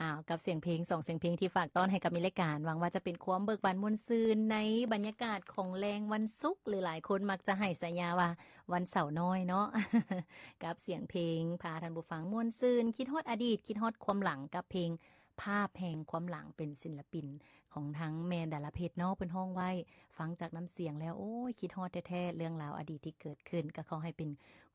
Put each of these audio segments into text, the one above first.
ອ້າວ ກັບສຽງເພງ ສອງສຽງເພງທີ່ຝາກຕ້ອນໃຫ້ກັບມີລາຍການ ຫວັງວ່າຈະເປັນຄວາມເບີກບານມ່ວນຊື່ນໃນບັນຍາກາດຂອງແລງວັນສຸກ ຫຼືຫຼາຍຄົນມັກຈະໃຫ້ສາຍາວ່າວັນເສົານ້ອຍເນາະ ກັບສຽງເພງພາທ່ານຜູ້ຟັງມ່ວນຊື່ນ ຄິດຮອດອະດີດ ຄິດຮອດຄວາມຫຼັງ ກັບເພງພາບແຫ່ງຄວາມຫຼັງ ເປັນສິນລະປິນຂອງທາງແມ່ດາລາເພັດເນາະ ເພິ່ນຮ້ອງໄວ້ ຟັງຈາກນ້ຳສຽງແລ້ວ ໂອ້ຍ ຄິດຮອດແທ້ໆ ເລື່ອງລາວອະດີດທີ່ເກີດຂຶ້ນ ກໍຂໍໃຫ້ເປັນ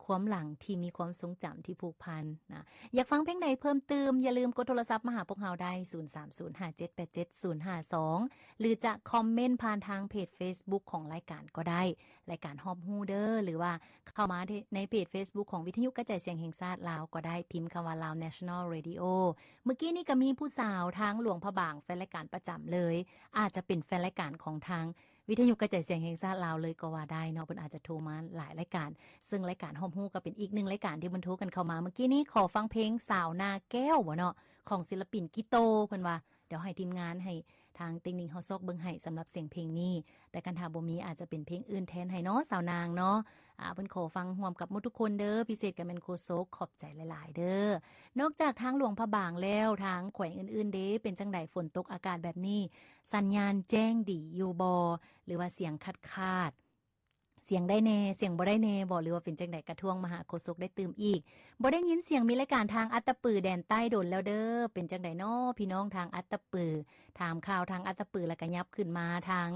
ຄວາມຫຼັງທີ່ມີຄວາມຊົງຈຳທີ່ຜູກພັນນະ. ຢາກຟັງເພງໃດເພີ່ມຕື່ມ ຢ່າລືມກົດໂທລະສັບມາຫາພວກເຮົາໄດ້ ສູນສາມສູນຫ້າເຈັດແປດເຈັດສູນຫ້າສອງ ຫຼືຈະຄອມເມັນຜ່ານທາງເພຈເຟສບຸກຂອງລາຍການກໍໄດ້ ລາຍການຮອບຮູ້ເດີ ຫຼືວ່າເຂົ້າມາໃນເພຈເຟສບຸກຂອງວິທະຍຸກະຈາຍສຽງແຫ່ງຊາດລາວກໍໄດ້ ພິມຄຳວ່າ Lao National Radio. ມື້ກີ້ນີ້ກໍມີຜູ້ສາວທາງຫຼວງພະບາງ ແຟນລາຍການປະຈຳເລີຍ ອາດຈະເປັນແຟນລາຍການຂອງທາງວິທະຍຸກະຈາຍສຽງແຫ່ງຊາດລາວເລີຍກໍວ່າໄດ້ເນາະ ເພິ່ນອາດຈະໂທມາຫຼາຍລາຍການ ເຊິ່ງລາຍການຮອບຮູ້ກໍເປັນອີກໜຶ່ງລາຍການທີ່ເພິ່ນໂທກັນເຂົ້າມາ. ມື້ກີ້ນີ້ຂໍຟັງເພງສາວນາແກ້ວບໍ່ເນາະ ຂອງສິນລະປິນກິໂຕ ເພິ່ນວ່າ ດຽວໃຫ້ທີມງານ ໃຫ້ທາງເຕັກນິກເຮົາຊອກເບິ່ງໃຫ້ສຳລັບສຽງເພງນີ້ ແຕ່ຄັນຖ້າບໍ່ມີອາດຈະເປັນເພງອື່ນແທນໃຫ້ເນາະ ສາວນາງເນາະ. ອາ ເພິ່ນຂໍຟັງຮ່ວມກັບໝົດທຸກຄົນເດີ ພິເສດກໍແມ່ນໂຄສົກ ຂອບໃຈຫຼາຍໆເດີ. ນອກຈາກທາງຫຼວງພະບາງແລ້ວ ທາງແຂວງອື່ນໆເດ ເປັນຈັ່ງໃດ ຝົນຕົກອາກາດແບບນີ້ ສັນຍານແຈ້ງດີຢູ່ບໍ່ ຫຼືວ່າສຽງຂາດໆ ສຽງໄດ້ແດ່ ສຽງບໍ່ໄດ້ແດ່ບໍ່ ຫຼືວ່າເປັນຈັ່ງໃດ ກະທວງມາຫາໂຄສົກໄດ້ຕື່ມອີກ. ບໍ່ໄດ້ຍິນສຽງມີລາຍການທາງອັດຕະປືແດນໃຕ້ດົນແລ້ວເດີ ເປັນຈັ່ງໃດເນາະ ພີ່ນ້ອງທາງອັດຕະປື ຖາມຂ່າວທາງອັດຕະປື ແລ້ວກະຫຍັບຂຶ້ນມາທາງ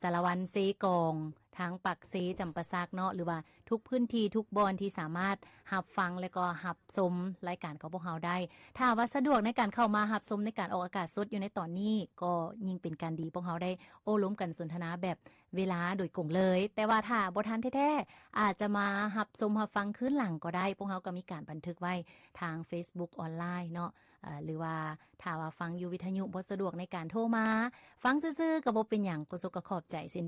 ສາລະວັນ ເຊກອງ ທາງປາກເຊ ຈຳປາສັກເນາະ ຫຼືວ່າທຸກພື້ນທີ່ທຸກບ່ອນທີ່ສາມາດຮັບຟັງ ແລ້ວກໍຮັບຊົມລາຍການຂອງພວກເຮົາໄດ້. ຖ້າວ່າສະດວກໃນການເຂົ້າມາຮັບຊົມໃນການອອກອາກາດສົດຢູ່ໃນຕອນນີ້ ກໍຍິ່ງເປັນການດີ ພວກເຮົາໄດ້ໂອ້ລົມກັນສົນທະນາແບບ ເວລາໂດຍກົງເລີຍ ແຕ່ວ່າຖ້າບໍ່ທັນແທ້ໆ ອາດຈະມາຮັບຊົມຮັບຟັງຄືນຫຼັງກໍໄດ້ ພວກເຮົາກໍມີການບັນທຶກໄວ້ທາງເຟສບຸກອອນລາຍເນາະ ເອີ ຫຼືວ່າຖ້າວ່າຟັງຢູ່ວິທະຍຸບໍ່ສະດວກໃນການໂທມາຟັງຊື່ໆ ກໍບໍ່ເປັນຫຍັງ ໂຄສົກກໍຂອບໃຈເຊັ່ນ